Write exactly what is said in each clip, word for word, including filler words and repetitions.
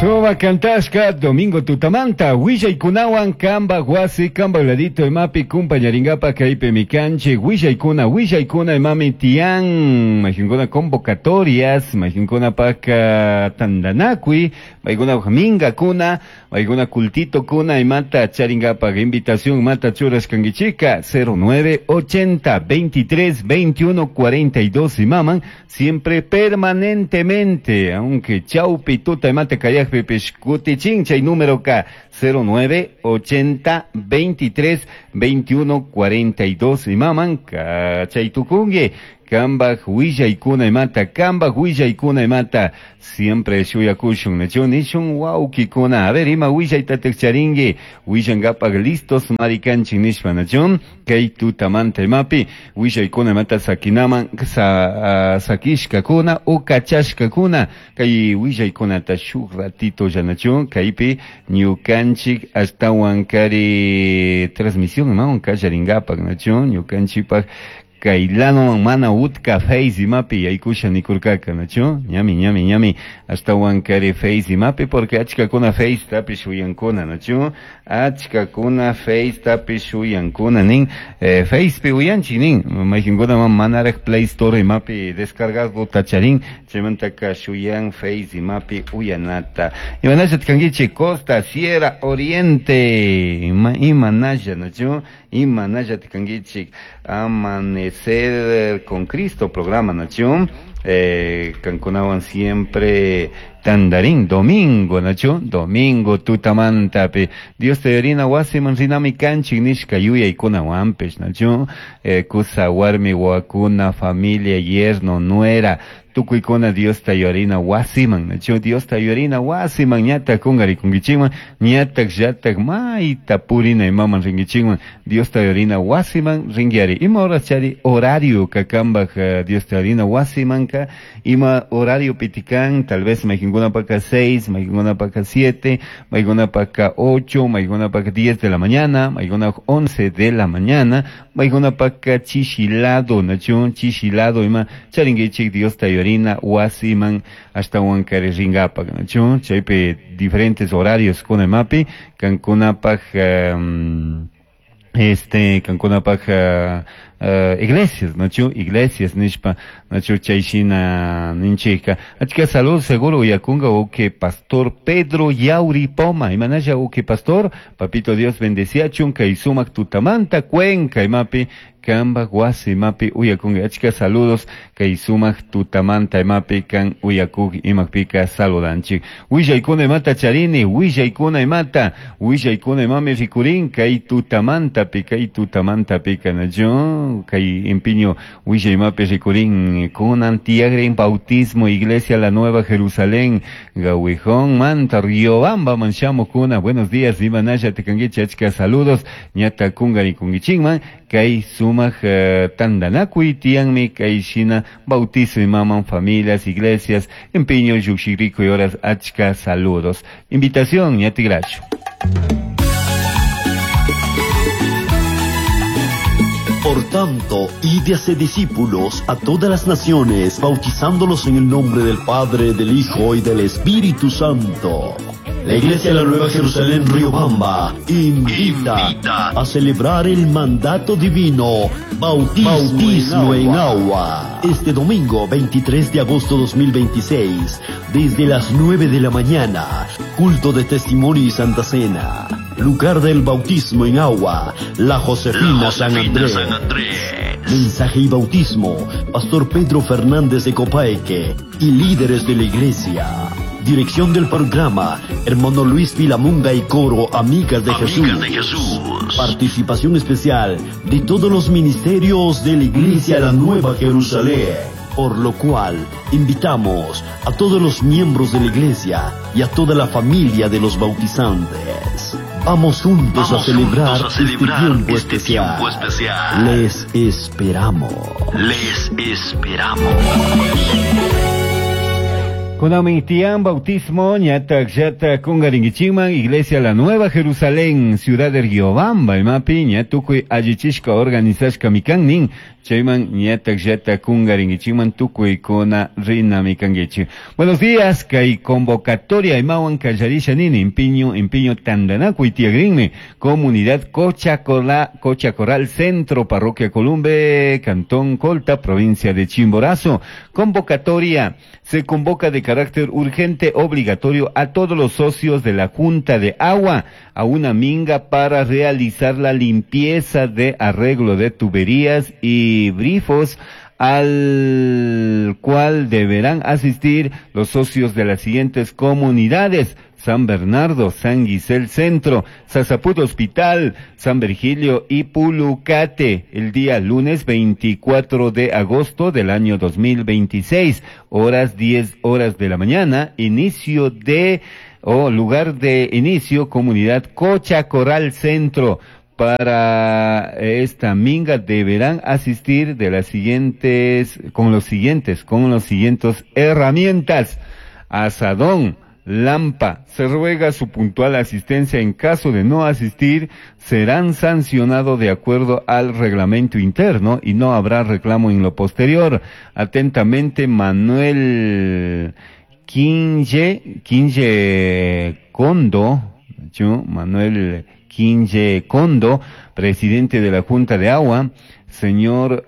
Suba kantashka Domingo Tutamanta willaykunawan kamba wasi kamba ladito imapi kumpañaringapa kaypi mikanchik willaykuna willaykuna imami tiyan mayqinkuna convocatorias mayqinkunapaq tantanakuy maykunapaq minkakuna maykuna kultitokuna imata charingapaq invitación imata churashkankichika cero nueve ochenta veintitrés veintiuno cuarenta y dos imaman siempre permanentemente aunque chaupi tuta imata kayaq pipish kutichin chay número K cero nueve ochenta veintitrés veintiuno cuarenta y dos imaman kachay tukungi kambaj willaykuna imata kambaj willaykuna imata siempre shuyakushun nachu nishun wawkikuna a ver ima willaytataj charinki willankapaj listos marikanchik nishpa nachu kay tutamanta imapi willaykuna imata sakinaman sa, uh, sakishkakuna o kachashkakuna kay willaykunata shuk ratito llanachu kaypi ñukanchik ashtawan kari transmisión imawan kallarinkapak nachu ñukanchikpak kaylanowan mana utka Face imapi yaykusha nikurkaka nachu ñami ñami ñami ashtawan kari Face imapi porque achkakuna Face tapish uyankuna nachu achkakuna Face tapish uyankuna nin eh, Facepi uyanchik nin mayqinkunaman manaraj Play Store imapi descargado tacharin chaymantaka shuyan Face imapi uyanata imanalla kankichik Costa Sierra Oriente ima imanalla nachu imanalla kankichik Amanecer con Cristo programa nachu eh, kankunawan siempre tandarín domingo nachu domingo tutamantapi Dios te yorina wasiman rinami kanchik nishka yuyaykunawanpish nachu eh, kusa warmi wakuna familia yerno nuera tukuykuna Dios ta yorina wasiman nachu Dios ta yorina wasiman ñatak kunqarikunkichikman ñatak llatak mayta purina imaman rinkichikman Dios ta yorina wasiman rinkiari ima horas chari horario kakambaj uh, Dios ta yorina wasimanka ima horario pitikan tal vez mayqinkunapaka seis mayqinkunapaka siete mayqinkunapaka ocho mayqinkunapaka diez de la mañana mayqinkunapaka once de la mañana mayqinkunapaka chishilado nachu chishilado ima charinkichik Dios ta yorina wasiman ashtawan kari rinkapak nachu chaypi diferentes horarios kuna imapi kankunapaj um, este kankunapaj uh, uh, iglesias nachu iglesias nishpa nachu chayshina ninchika achka salud seguro uyakunga uke pastor Pedro Yauri Poma imanalla uke pastor papito Dios bendeciachun kay sumak tutamanta Cuenca imapi kamba wasi imapi uyakunga achka saludos kay sumak tutamanta imapi kan uyakuk imakpika saludanchik willaykuna imata charini willaykuna imata willaykuna imami rikurin kay tutamantapi kay tutamantapika nachu kay empiño willay imapi rikurin kunan tiagrin bautismo iglesia la Nueva Jerusalén Gawijón manta Riobamba manshamukuna buenos días imanalla tikankichik achka saludos ñata kunqarikunkichikman kay sumak uh, tantanakuy tiyanmi kay shina bautizo imaman familias iglesias empiño lluqshiriku y horas achka saludos invitación ñatigrachu. Por tanto, id y haced discípulos a todas las naciones, bautizándolos en el nombre del Padre, del Hijo y del Espíritu Santo. La Iglesia de la Nueva Jerusalén Riobamba invita, invita a celebrar el mandato divino, bautismo, bautismo en, agua. en agua. Este domingo veintitrés de agosto dos mil veintiséis, desde las nueve de la mañana, culto de testimonio y Santa Cena. Lugar del bautismo en agua, la Josefina, la Josefina San Andrés. San Andrés. Mensaje y bautismo, Pastor Pedro Fernández de Copaeque y líderes de la iglesia. Dirección del programa, hermano Luis Vilamunga y coro Amigas de, Amigas Jesús. de Jesús. Participación especial de todos los ministerios de la Iglesia La Nueva Jerusalén. Por lo cual, invitamos a todos los miembros de la iglesia y a toda la familia de los bautizantes. Vamos juntos, Vamos a, celebrar juntos a celebrar este tiempo, este especial. tiempo especial. Les esperamos. Les esperamos. Kunamitian bautismo ñatak llata kungaringichiman Iglesia La Nueva Jerusalén Ciudad de Riobamba imapi ña tukuy allichishka organizashka mikan nin chayman ñatak llata kungaringichiman tukuykuna rina mikanguichi. Buenos días, kay convocatoria imawan kallarisha nini impiño impiño tandanakuy tiagrinmi comunidad Cocha Corral, Cocha Corral Centro, Parroquia Columbe, Cantón Colta, provincia de Chimborazo. Convocatoria se convoca de carácter urgente obligatorio a todos los socios de la Junta de Agua a una minga para realizar la limpieza de arreglo de tuberías y grifos, al cual deberán asistir los socios de las siguientes comunidades: San Bernardo, San Guisel Centro, Sasaput Hospital, San Virgilio y Pulucate, el día lunes veinticuatro de agosto del año dos mil veintiséis, horas diez horas de la mañana, inicio de, o lugar de inicio, comunidad Cocha Corral Centro. Para esta minga deberán asistir de las siguientes, con los siguientes, con los siguientes herramientas: asadón, lampa. Se ruega su puntual asistencia. En caso de no asistir, serán sancionados de acuerdo al reglamento interno y no habrá reclamo en lo posterior. Atentamente, Manuel Quinche, Quinche Condo, yo, Manuel Quinche Condo, presidente de la Junta de Agua, señor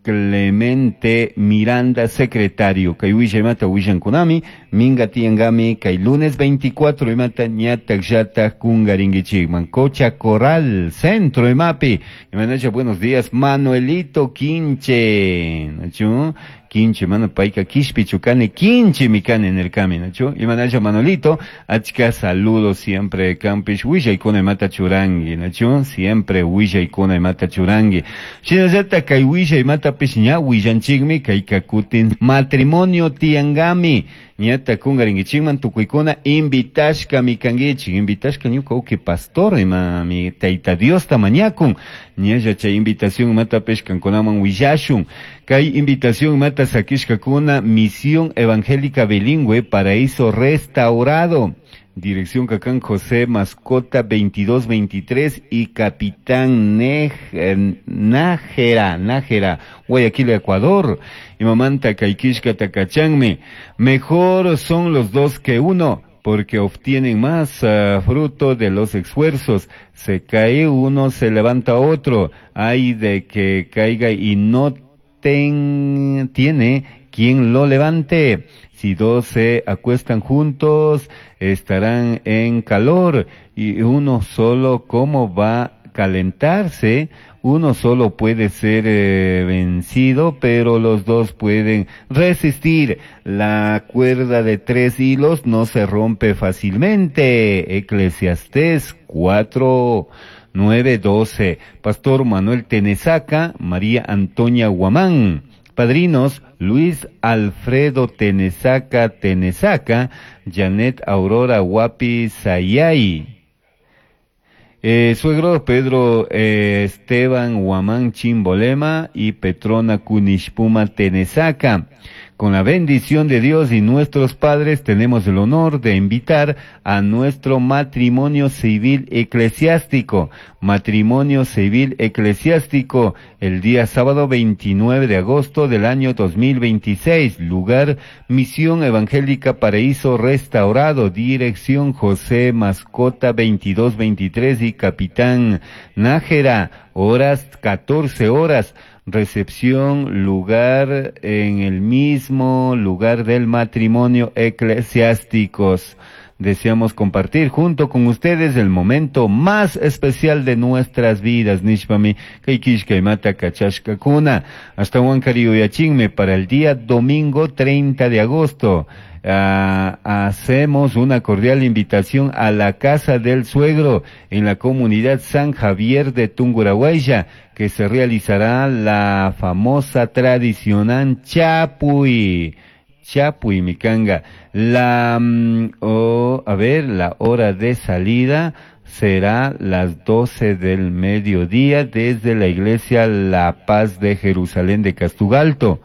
Clemente Miranda, secretario. Kay wisha imata wishankunami, minga tiangami, kay lunes veinticuatro imata ñatak llata kungaringichikman. Cocha Corral, Centro imapi. Imanacha, buenos días, Manuelito Quinche. ¿Nachu? Quinche, mano, paika kishpi chukane, quinche mikane en el camino, ¿nachu? Imanacha, Manolito, achka saludos siempre, campish, wisha ikuna imata churangi, ¿nachu? Siempre wisha ikuna imata churangi. Shinallata kay wisha imata pish ña wishanchikmi, kay kakutin matrimonio tiangami. Ñata kungaringichikman tukuykuna invitashka mikangichik, invitashka ñuka uki pastor ima mi tayta Diosta mañakun. Ñalla chay invitación imata pish kankunaman willashun. Kay invitación imata sakishkakuna Misión Evangélica Bilingüe Paraíso Restaurado. Dirección Cacán José Mascota veintidós veintitrés y Capitán Nej, eh, Nájera, Nájera, Guayaquil, Ecuador. Y mamanta Kaikishka Takachanme. Mejor son los dos que uno, porque obtienen más uh, fruto de los esfuerzos. Se cae uno, se levanta otro. Hay de que caiga y no ten, tiene quien lo levante. Si dos se acuestan juntos, estarán en calor, y uno solo, ¿cómo va a calentarse? Uno solo puede ser eh, vencido, pero los dos pueden resistir. La cuerda de tres hilos no se rompe fácilmente. Eclesiastés cuatro, nueve, doce. Pastor Manuel Tenesaca, María Antonia Guamán. Padrinos, Luis Alfredo Tenesaca Tenesaca, Janet Aurora Guapi Sayay. Eh, suegro Pedro eh, Esteban Guamán Chimbolema y Petrona Cunishpuma Tenesaca. Con la bendición de Dios y nuestros padres tenemos el honor de invitar a nuestro matrimonio civil eclesiástico. Matrimonio civil eclesiástico el día sábado veintinueve de agosto del año dos mil veintiséis. Lugar Misión Evangélica Paraíso Restaurado. Dirección José Mascota veintidós veintitrés y Capitán Nájera. Horas catorce horas. Recepción, lugar en el mismo lugar del matrimonio eclesiásticos. Deseamos compartir junto con ustedes el momento más especial de nuestras vidas. Nishpami, kaikishka imata kachashka kuna. Hasta Huancariyuyachinme para el día domingo treinta de agosto. Uh, hacemos una cordial invitación a la casa del suegro en la comunidad San Javier de Tungurahua, que se realizará la famosa tradicional Chapuy. Chapuy, Micanga. La, oh, a ver, la hora de salida será las doce del mediodía desde la iglesia La Paz de Jerusalén de Castugalto.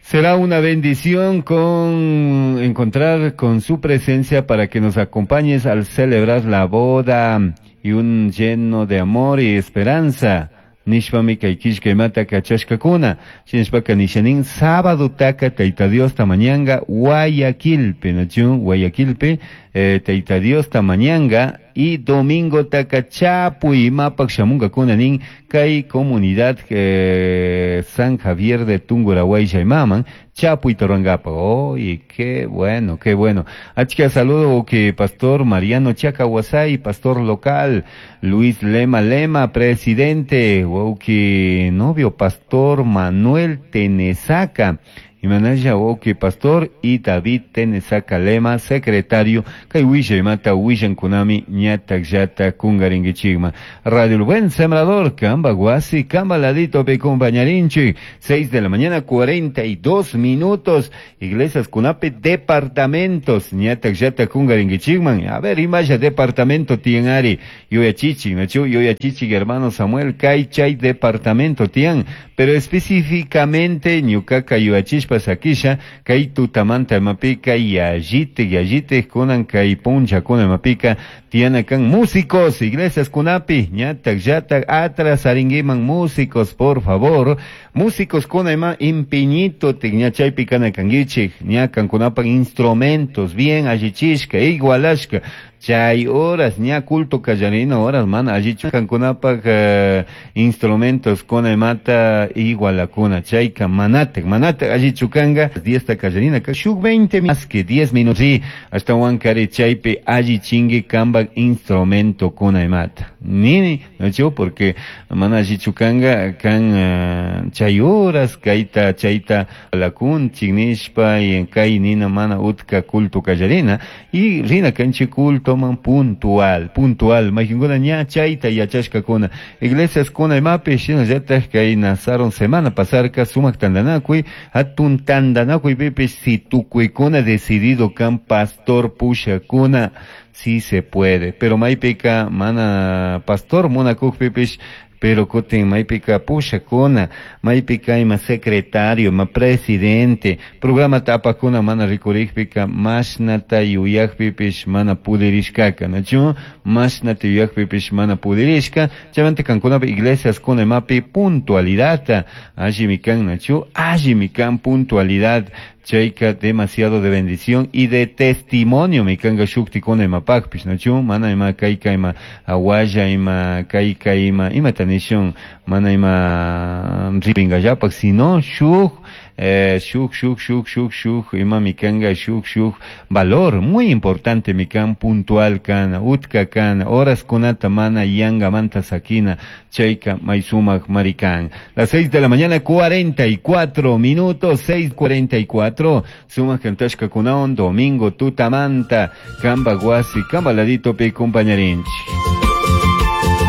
Será una bendición con encontrar con su presencia para que nos acompañes al celebrar la boda y un lleno de amor y esperanza. Nishpami kay killkaymata kachashkakuna. Shinashpaka nishanin sábado taka Tayta Dios tamañanga Guayaquilpi, nachu Guayaquilpi, eh, Tayta Dios tamañanga y domingo taka chapuy imapak shamunkakuna nin kay comunidad eh, San Javier de Tungurahua imaman chapuy torangapa. Oh, y qué bueno, qué bueno. Achka saludo que pastor Mariano Chacahuasay, pastor local, Luis Lema Lema, presidente, wauki novio pastor Manuel Tenesaca, Imanaya wauki pastor y David Tenesaca Lema, secretario, kay wisha imata wishan kunami ñatak llata kungaringichigma. Radio El Buen Sembrador, Kamba Guasi, Kamba Ladito pe compañarinchi, seis de la mañana, cuarenta y dos minutos, Iglesias Kunapi, departamentos, ñatak llata kungaringichigman. A ver, imaya departamento tienari, yoyachichi, nachu, yoyachichi, hermano Samuel, kay chay departamento tian, pero específicamente ñukaka yoyachishpa sakisha, kay tutamanta mapika, yallite, yallite, kunan kay puncha kuna mapika, tiana kan músicos, iglesias kunapi, ñatak, yatak, atras aringuiman músicos, por favor, músicos kuna ima impiñito, ñachaypi kana kanguichik, ñakan kunapan instrumentos, bien allichishka, igualashka, chay horas, ña culto kallarina horas, mana allichu kankunapak, eh, instrumentos kuna imata igualakuna, chayka manatek, manatek allichu kanga, diez ta kallarina, ka shuk veinte más que diez minutos, sí, hasta huancari chaypi allichingue kambak instrumento kuna imata. Nini, no chu, porque mana allichu kanga, kan, eh, chay horas, kaita, chayta, lakun, chignishpa, y en kay nina mana utka culto kallarina, y rina kanchi culto toman puntual, puntual, majinguna ña chayta yachashka kuna, iglesias kuna imapi, shina llatak kay nazaron semana pasarka, sumak tandanakuy, hatun tandanakuy pipish, si tukuykuna decidido kan pastor pushakuna, sí se puede, pero maypika mana pastor munakuk pipish, pero kutin maypika pushakuna, maypika ima secretario, ima presidente, programa tapakuna mana rikurikpika, mashnata yuyakpipish mana pudirishkaka, nachu? Mashnata yuyakpipish mana pudirishka, chaymanta kankunapi iglesias kuna imapi puntualidad, allimi kan, nachu? Allimi kan puntualidad, chayka demasiado de bendición y de testimonio mi kanga shukti kuna imapakpish, nachu? Mana ima kayka ima awalla ima kayka ima ima tanishun, mana ima ripingallapak, sino shuk, eh, shuk, shuk, shuk, shuk, shuk, ima mi kanga shuk, shuk, valor muy importante mi kan puntual kana, utka kana, horas kunata mana yanga manta sakina, chayka maysumak marikan. Las seis de la mañana, cuarenta y cuatro minutos, seis cuarenta y cuatro, sumak kantashka kunaon, domingo tutamanta, kamba guasi, kamba ladito pe compañarinchi.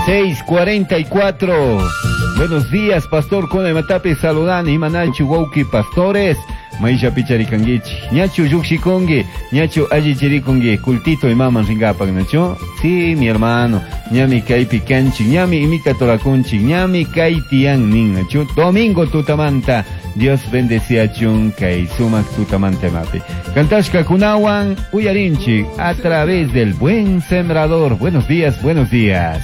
Seis cuarenta y cuatro. Buenos días, pastor Kuna Matapi, saludan, Imanachu, Wauki, pastores. Maisha picharikanguichi, ñachu yukshikongi, ñachu allichirikongi, cultito imaman ringapak, nachu. Sí, mi hermano, ñami kaypi kanchi, ñami imita torakunchi, ñami kaytian nin, nachu. Domingo tutamanta, Dios bendeciachun kay sumak tutamanta mapi. Kantashka kunawan, uyarinchi, a través del Buen Sembrador. Buenos días, buenos días.